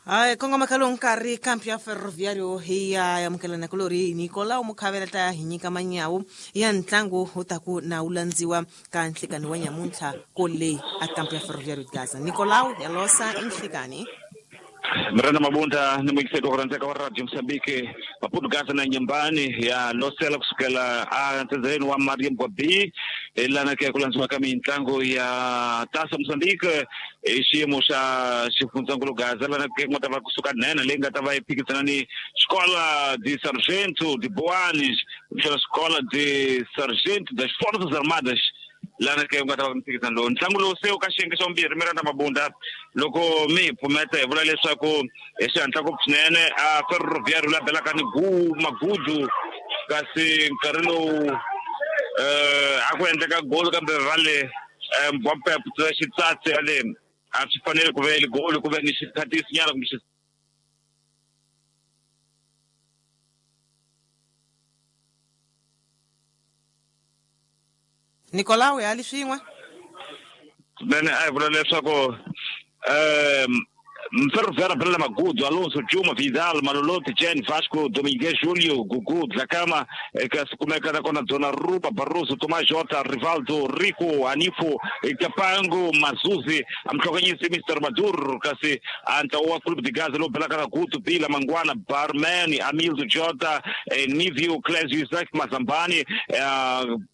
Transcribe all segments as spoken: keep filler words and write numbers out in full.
Hayi kongoma ka lowu nkarhi kampi ya Ferroviário hi ya amukelana kulori Nicolau Mukhavela ta hi nyika manyawu ya ntlangu wu ta ku na wu landziwa ka nhlikani wa nyamuntlha kole a kampi ya Ferroviário Gaza. Nicolau ya losa nhlikani. Miranda Mabunda ni muyingiseri wa ku rhandzeka wa Radio Mozambique Maputo Gaza na Nyembani ya losela kusukela a ntsendzeleni wa Mariam B lana ke ku landziwa ka mintlangu ya Taça Mozambique i xiyimo xa xifundzankulu Gaza lana ke ku nga ta va kusuka nene leyi nga ta va yi phikizana ni Escola de Sargento de Boanes kumbexana Escola de Sargento das Forças Armadas lana ke ku nga ta va mphikizano lowu. Ntlangu lowu se wu ka xiyenge xa vumbirhi Miranda Mabunda loko mi hi pfumeta hi vula leswaku hi xihatla ngopfu swinene a Ferroviário la belaka ni gu magudu kasi nkarhi lowu eh a ku endleka golo kambe va le Mbappe xitsatsi le a swi fanele ku ve golo ku ve ni xikhatisi nyana kumbe Nicolau ya li swin'we swinene a hi vula leswaku um Ferroviário bela Magudu, Alonso, Juma, Vidal, Malolote, Jen, Vasco, Domingues, Júlio, Gugu, Dlakama, que kumeka na kona Donnarumma, Barroso, Tomás Jota, Rivaldo, Rico, Anifo, Capango, Mazuzi, amhlokanyisi Mister Maduro, kasi anta wa Clube de Gaza, lo bela kana Guto, Bila, Manguana, Barman, Amildo Jota, Nívio, Clésio, Isaac, Mazambani,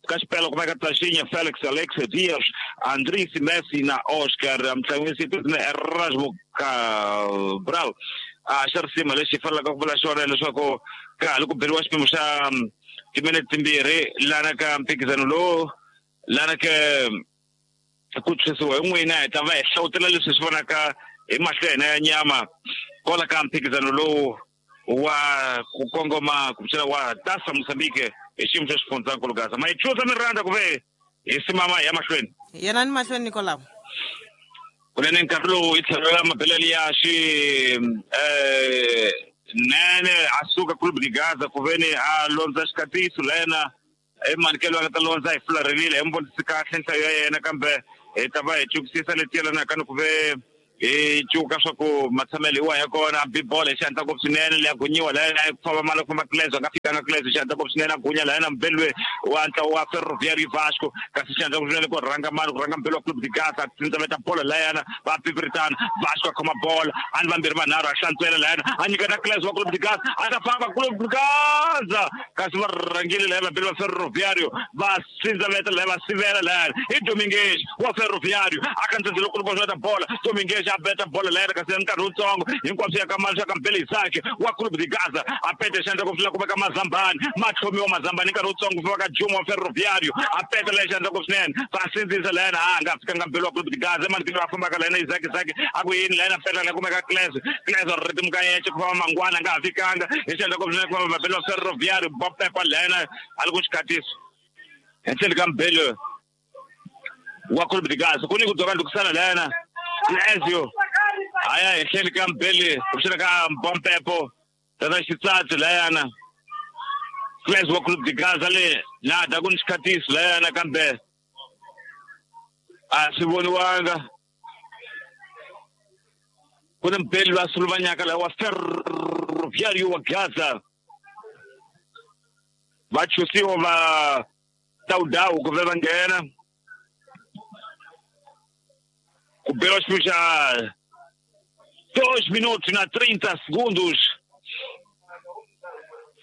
Caspelo, kumeka Taxinha, Félix, Alex, Dias, Andrés, Messi na Oscar, amhlokanyisi Erasmo Cabral. A xa risima lexi fanelaka ku vula xona leswaku ka ha ri ku beriwa xipimo xa timinete timbirhi lana ka mphikizano lowu lana ke ku tshwisiwa hi n'wina hi ta va hi hlawutela leswi swi vonaka hi mahlo ya hina ya nyama kwala ka mphikizano lowu wa ku kongoma kumbexana wa Taça Mozambique hi xiyimo xa xifundzankulu Gaza. Ma yi chuza Miranda ku ve hi simama hi ya mahlweni yena ni mahlweni Nicolau kunene nkarhi lowu hi tlhelo ra mabelele ya xi eh nene a suka Clube de Gaza ku veni a londza xikatiso lena i manikelo a nga ta londza hi fularhelile hi mi vonisi kahle nhlayo ya yena kambe hi ta va hi cukisisa leti yelanaka ni ku ve hi cuka swa ku matshamelo hi wahi ya kona bibolo hi xihatla ngopfu swinene leya gunyiwa layena ku famba mali ku famba Clésio a nga fikanga Clésio xihatla ngopfu swinene a gunya layena mbelwe wa ntlawa wa Ferroviário Vasco kasi xihatla ngopfu swinene ku rhanga mali ku rhanga mbelwe wa Clube de Gaza a tsindzaveta bolo layena va pipiritana Vasco a khoma bolo a ni vambirhi vanharhu a hlantswela layena a nyiketa Clésio wa Clube de Gaza a ta famba Clube de Gaza kasi va rhangile laya vambirhi va Ferroviário va tsindzaveta laya va sivela layena i Domingues wa Ferroviário a khandziyile ku ta bola Domingues a beta bola layena kasi nkarhi wutsongo hinkwaswo ya ka mali swa ka Mbele Isaac wa Clube de Gaza a pete xandla ku fika ku veka Mazambani matlhomiwa Mazambani nkarhi wutsongo ku fika ka Juma wa Ferroviário a peta leyi xandla ku swinene va sindzisa layena a nga fikanga Mbele wa Clube de Gaza emanikweni va fambaka layena Isaac Isaac a ku yini layena peta la kumeka Clésio Clésio ritimu ka yexe ku famba Mangwana a nga ha fikanga hi xandla ku swinene ku famba Mbele wa Ferroviário ba pepa layena a li ku xikatiso henhleni ka Mbele wa Clube de Gaza ku ni ku dzoka ndlukusana layena Clésio aya henhleni ka Mbele kumbexana ka Mbompepo tata xitsatsi layana Clésio wa Clube de Gaza le na da ku ni xikhatiso layana kambe a swi voniwanga ku ni Mbele lwa suluvanyaka laha wa Ferroviário wa Gaza va chusiwa va tawudawu ku ve va nghena ku beriwa xipimo xa dois minutos na trinta segundos.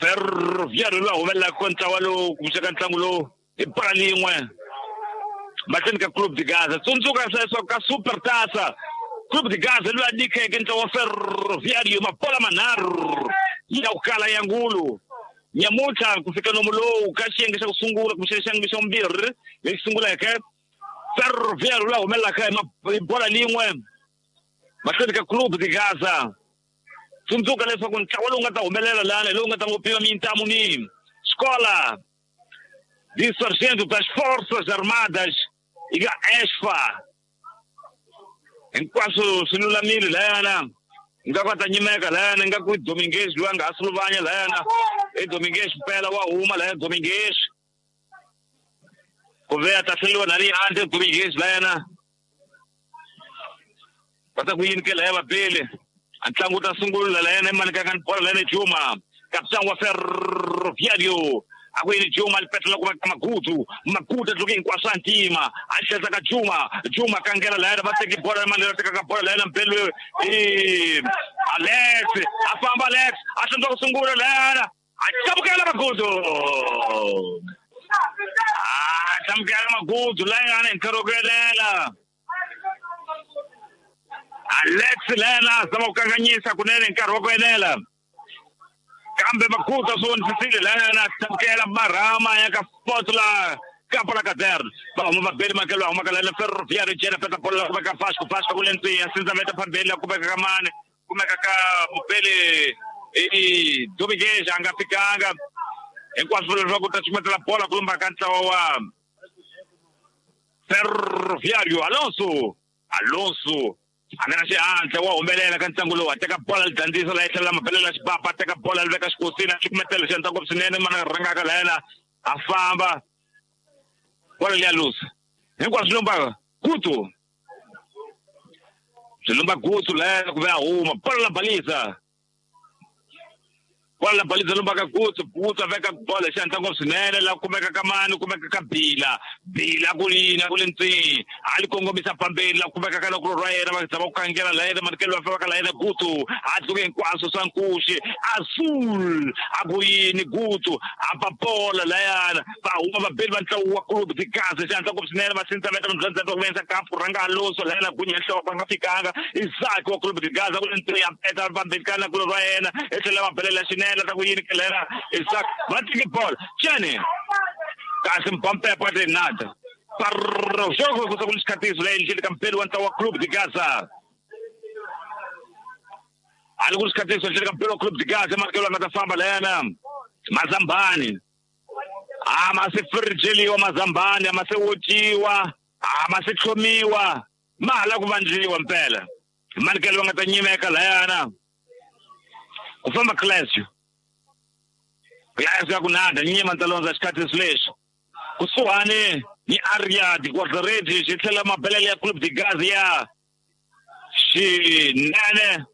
Ferroviário lowu humelelaka ntlawa lowu kumbexana ntlangu lowu hi bola lin'we mahlweni ka Clube de Gaza. Tsundzuka leswaku ka Super Taça Clube de Gaza loyi a nyikeke ntlawa wa Ferroviário mabola manharhu ya ku kala ya ngulu nyamuntlha ku fika nomu lowu ka xiyenge xa ku sungula kumbexana xiyenge xa vumbirhi lexi sunguleke Ferroviário loyi a humelelaka hi bola lin'we mahlweni ka Clube de Gaza. Tsundzuka leswaku ntlawa lowu nga ta humelela lana hi lowu nga ta ngo pima mintamu ni Escola de Sargento das Forças Armadas yi nga ESFA hinkwaswo swi lulamile layana nga ku ta nyimeka layana nga ku Domingues loyi a nga ha suluvanya layana i Domingues mpela wa huma layana Domingues ku ve a ta hleriwa na le handle Domingues layana va ta ku yini ke laya vabele Ntlangu ta sungula la yena imani ka bola la yena Juma kapitani wa Ferroviario akwini Juma alipetela kuma Magudu Magudu tluke hinkwaswo ntima a tlhela ka Juma Juma kangela la yena va teki bola la mani teka ka bola la yena Mbelu eh Alex a famba Alex a tlhela ku sungula la yena a tlhamukela Magudu a tlhamukela Magudu la yena hi nkarhi wo kuyelela Alex lena zama ku kanganyisa kunene nkarhi wa ku enela kambe Magudu swi vonisisile lena tlhamukela marhama ya ka Potla Kapa la Caderno va huma vabeli makelo va humaka lena Ferroviario jena peta bola la kumeka Vasco Vasco ku le ntsiya sindza veta phambili la kumeka ka mane kumeka ka Mupele i Dominguez a nga fikanga hinkwaswo leswaku ta cukumetela bola ku lumba ka ntlawa wa Ferroviario Alonso Alonso a nga na xihatla wa humelela ka ntlangu lowu a teka bola li dyondzisa la tlhela mabelela xipapa a teka bola li veka xikosini a cukumetela xi endla ngopfu swinene mana rhangaka la yena a famba bola liya lusa hinkwaswo swi lumba gutu swi lumba gutu la yena ku ve a huma bola la balisa bola la balisa lumba ka gutu gutu a veka bola xi endla ngopfu swinene la kumeka ka mani kumeka ka Bila Bila ku yini ku le ntsini a li kongomisa phambeni la kumeka ka loko ra yena va zama ku kangela la yena manikelo va famba ka la yena Gutu a tluke hinkwaswo swa nkuxi Azul a ku yini Gutu a ba bola la yana va huma vabeli va ntlawa wa Clube de Gaza xi endla ngopfu swinene va sindza veta mbyandza ku venza kampu rhanga Alonso la yena gunya nhloko va nga fikanga Isaac wa Clube de Gaza ku le ntsini a peta vambeni ka la ku ra yena e tlhela va belela xinene ta ku yini kelera Isaac va tiki bola Chene kasi mpampepo ate nada parro jogo ku ku xikatiso la yini ka mpelo wa ntlawa wa Clube de Gaza ali ku xikatiso xi ka mpelo wa Clube de Gaza makelo nga ta famba la yena Mazambani a ma se frijeliwa Mazambani a ma se wociwa a ma se tlhomiwa ma hala ku vandliwa mpela manikelo nga ta nyimeka la yana ku famba Clésio Clésio ya ku nada nyima ntalonza xikatiso lexi kusuhani ni area di quadredi xi tlhela mabelele ya Clube de Gaza ya xinene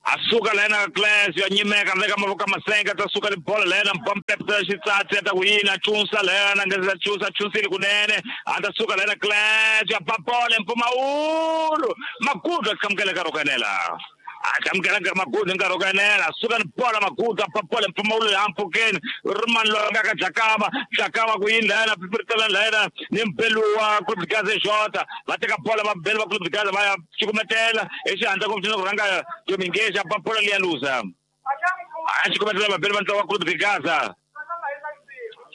a suka la yena Clésio a nyimeka veka mavoko masenga ta suka ni bola la yena mpampepta xitsatsi ta ku yini a chunsa la yena nga za chunsa chunsile kunene a ta suka la yena Clésio a ba bola mpfumawulo Magudu a tlhamukela nkarhi wo kanela a tlhamukela Magudu nkarhi wo kanela suka ni bola Magudu a ba bola mpfumawulo ya mpfhukeni rimani loyi nga ka Dlakama Dlakama ku yini la yena pipiritela la yena ni Mbelu wa Clube de Gaza Jota va teka bola va Mbelu wa Clube de Gaza va ya cukumetela exihandla ku ku rhanga Dominguez a ba bola liya lusa a cukumetela vabeli va ntlawa wa Clube de Gaza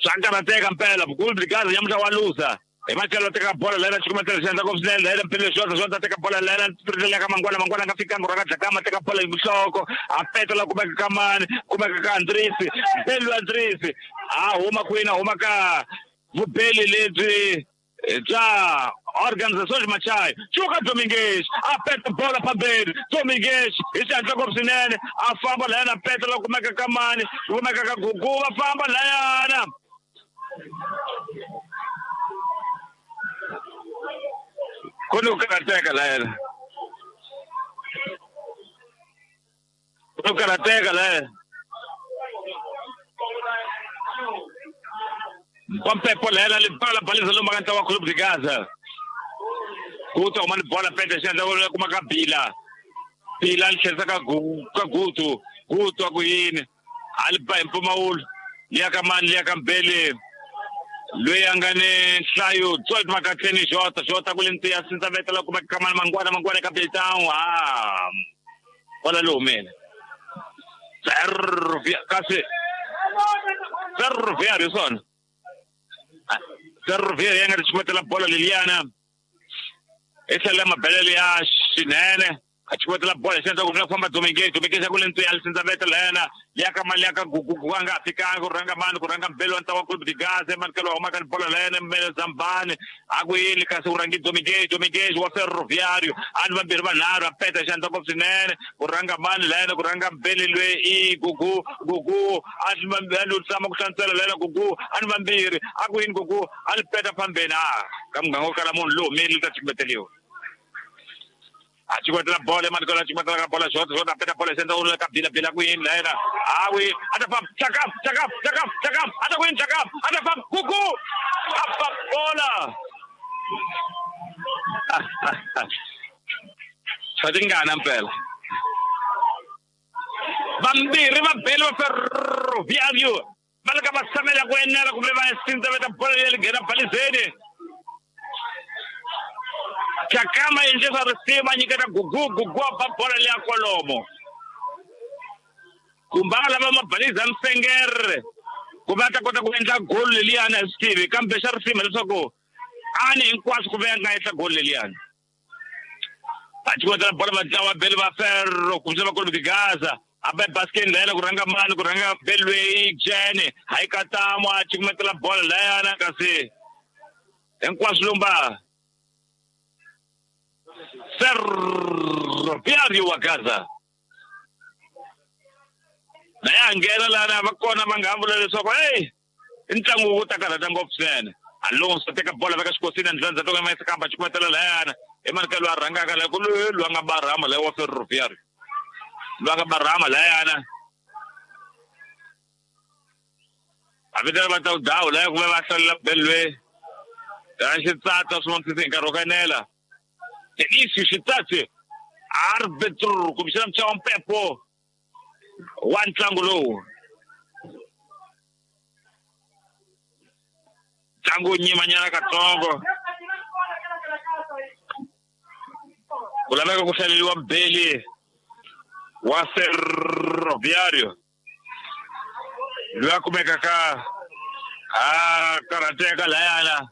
swa karhateka mpela Clube de Gaza nyamuntlha wa lusa hi matlhelo teka bola la yena cukumetela xi endla ngopfu swinene la yena Mpilo Xota Xota teka bola la yena piritela ka Mangwana Mangwana nga fikanga rhanga Dlakama teka bola hi nhloko a petela kumeka ka mani kumeka ka Andrisi Mbelu Andrisi a huma kwini a huma ka vubeli lebyi bya Organizações Machai Chuka Dominguez a peta bola phambeni Dominguez hi xihatla ngopfu swinene a famba la yena petela kumeka ka mani kumeka ka Gugu va famba la yana ku ni ku karhateka la yena ku ni ku karhateka la yena mpampepo la yena libala balisa lomba ka ntlawa wa Clube de Gaza ku ta huma ni bola pete xi endla ku kuma ka Bila Bila li tlherisa ka ka Gutu Gutu a ku yini a li ba hi mpfumawulo liya ka mani liya ka Mbele loyi a nga ni nhlayo twelve makatleni Jota Jota ku le ntiya sindza vetela kumeka ka mani Mangwana Mangwana ka Beltown a bola lowu humele Ferrovia kasi Ferroviario swona Ferroviario ya nga ri cukumetela bola leliyana i tlhela mabelele ya xinene a cukumetela bola xi endla ku ku famba Dominguez Dominguez ku le ntiya li sindza vetela yena liya ka mali ya ka Gugu a nga fikanga ku rhanga mani ku rhanga Mbelu wa ntlawa wa Clube de Gaza manikelo wa humaka ni bola la yena Mbele Zambani a ku yini kasi ku rhangi Dominguez Dominguez wa Ferroviario a ni vambirhi vanharhu a peta xi endla ngopfu swinene ku rhanga mani la yena ku rhanga Mbele loyi i Gugu Gugu a ni vambirhi tshama ku hlantswela la yena Gugu a ni vambirhi a ku yini Gugu a ni peta phambeni a ka muganga wo kala munhu lowu humile ta cukumeteliwa A chikwetela bola emanikelo a chikwetela ka bola shot shot a peta bola senda u ka bila bila ku yini layena awi a ta famba chakam chakam chakam chakam a ta ku yini chakam a ta famba kuku a fa bola swa tingana mpela vambirhi va bele va Ferroviário va le ka va tshamela ku enela kumbe va sindzaveta bola leyi nghena balizeni. Chakama endle swa risima nyiketa gugu gugu a ba bola leya kwalomo kumbe a lava mabaliza msengere kumbe a ta kota ku endla goli leliyani a swi tivi kambe xa risima leswaku a ni hinkwaswo ku ve a nga endla goli leliyani. A chikwetela bola va dlawa bele va Ferro kumbe va Clube de Gaza a ba baskeni layena ku rhanga mani ku rhanga belweyi jene hayi katamo a chikumetela bola layana kasi hinkwaswo lumba Ferroviário wa Gaza na ya nghena lana va kona va nga vula leswaku hey i ntlangu wu ta karhata ngopfu swinene. Alonso teka bola veka xikosini ndlandza to ma kamba chikumetela layana emanikelo a rhangaka la ku loyi loyi a nga barhama layi wa Ferroviário loyi a nga barhama layana a vitana va ta dawu laya kumbe va hlalela belwe ya xitsatsa swin'wana hi nkarhi wo kanela Delício Xitsatsi arbitro kumbexana muchawa mpepo wa ntlangu lowu ntlangu wu nyimanyana katsongo ku laveka ku hlaleriwa mbeli wa Ferroviário loyi a kumekaka a karhateka layana.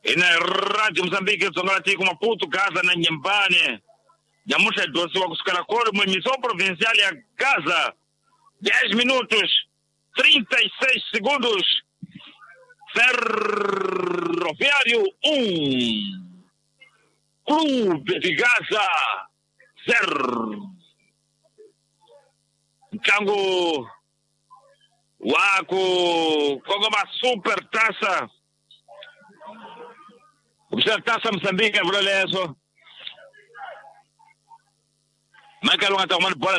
Ina Radio Moçambique Dzonga la tiko Maputo Gaza na Nyembane nyamuntlha hi dyondzisiwa kusukela kolo missão provincial ya Gaza dez minutos trinta e seis segundos Ferroviário um Clube de Gaza zero. Ntlangu wa ku kongoma super taça kumbexana taça Moçambique a vula leswo Michael u nga ta huma ni bola.